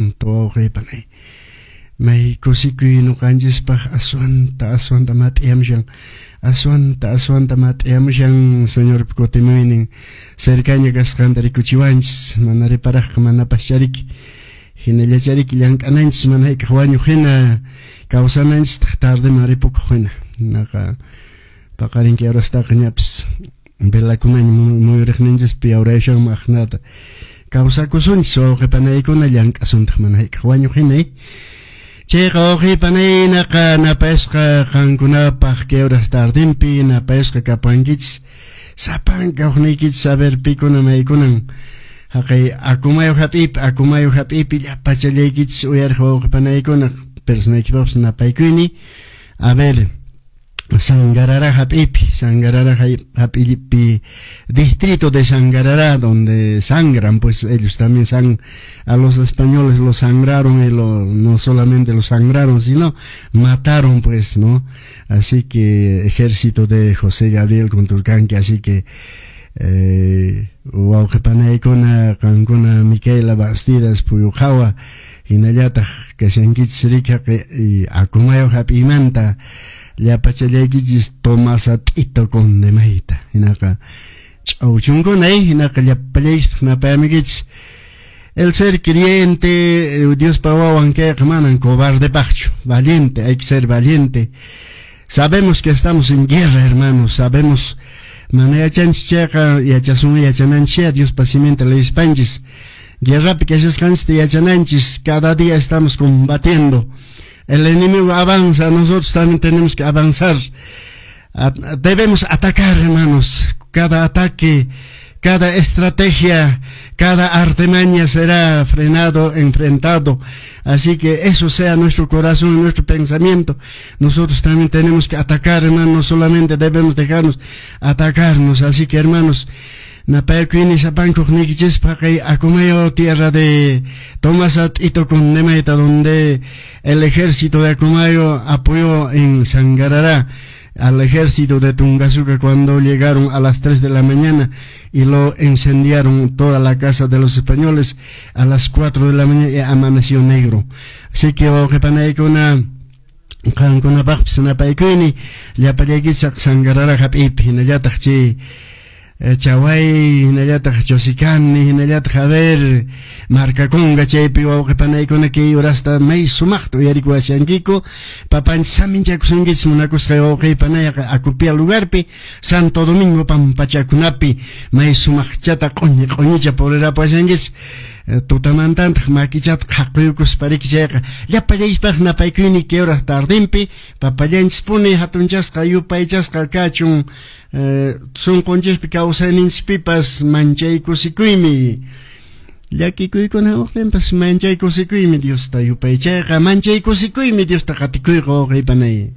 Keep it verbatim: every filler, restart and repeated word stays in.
Santo wawqipanay. May kusikuy nuqanchispaq aswanta aswanta mat'iyamushan, aswanta aswanta mat'iyamushan Señorpa kutimuynin cercaña kasqanta rikuchiwanchis, mana reparaqqa manapas chariki. Hinallachariki llank'ananchis mana hayk'aq wañuq hina kawsananchistaq tardeman ripukuq hina. Naqa paqarin kay horastaqa ñapis velakunaña muyuriqninchispi yawrayashanman aqnata kawsakusunchis wawqipanaykuna llank'asuntaq mana hayk'aq wañuq hina. Chayqa wawqipanaynaqa napayasqa qankunapaq kay horas tardinpi napayasqa kapankichis sapanka hukniykichis a ver pikuna maykunan haqay Acomayo hap'ipi Acomayo hap'ipi llapachallaykichis uyariq wawqipanaykuna personaykipapas napaykuyni. A ver, Sangarará hap'ipi, Sangarará hap'ipi, distrito de Sangarará, donde sangran, pues ellos también san, a los españoles los sangraron y lo, no solamente los sangraron, sino mataron, pues, ¿no? Así que ejército de José Gabriel Condorcanqui, así que eh, wawqipanaykuna qankuna Micaela Bastidas Puyuqhawa hinallataq kashankichis riki Acomayo hap'iymanta llapachallaykichis Tomasa T'ito Condemayta hinaqa ch'awchunkuna hinaqa llapallaykispaq napayamikichis. El ser creyente, Diospa wawan kayqa manan cobardepaqchu, valiente, hay que ser valiente. Sabemos que estamos en guerra, hermanos, sabemos mana yachanchis chayqa yachasun yachananchis Diospa siminta leispanchis. Guerrapi kashasqanchista yachananchis, cada día estamos combatiendo. El enemigo avanza, nosotros también tenemos que avanzar. Debemos atacar, hermanos. Cada ataque, cada estrategia, cada artimaña será frenado, enfrentado. Así que eso sea nuestro corazón y nuestro pensamiento. Nosotros también tenemos que atacar, hermanos, no solamente debemos dejarnos atacarnos. Así que, hermanos, napayakuyni sapankuq niykichispa kay Acomayo, tierra de Tomás T'ito Condemayta, donde el ejército de Acomayo apoyó en Sangarará al ejército de Tungasuca cuando llegaron a las tres de la mañana y lo incendiaron toda la casa de los españoles a las cuatro de la mañana y amaneció negro. Así que wawqipanaykuna qankunapaqpis napaykuyni llapallaykichis Sangarará hap'ipi hinallataq chay Chaway, hinallataq Chosicani, hinallataq a ver, Marcaconga chaypi wawqipanaykuna kay horasta may sumaqta uyarikuwashankiku papanchis saminchakusunkichis munakusqay wawqipanayqa Acopia lugarpi Santo Domingo pampachakunapi may sumaqchata q'uñi q'uñicha purirapuwashankichis tutamantantaq makichata qhaquykuspa riki chayqa llapallayspaq napaykuyni kay horas tardinpi papallanchispuni hatunchasqa yupaychasqa kachun sunqunchikpi kawsayninchispipas manchay kusikuymi llakikuykuna hamuqtinpas manchay kusikuymi Diosta yupaychayqa manchay kusikuymi Diosta qatikuyqa wawqipanay.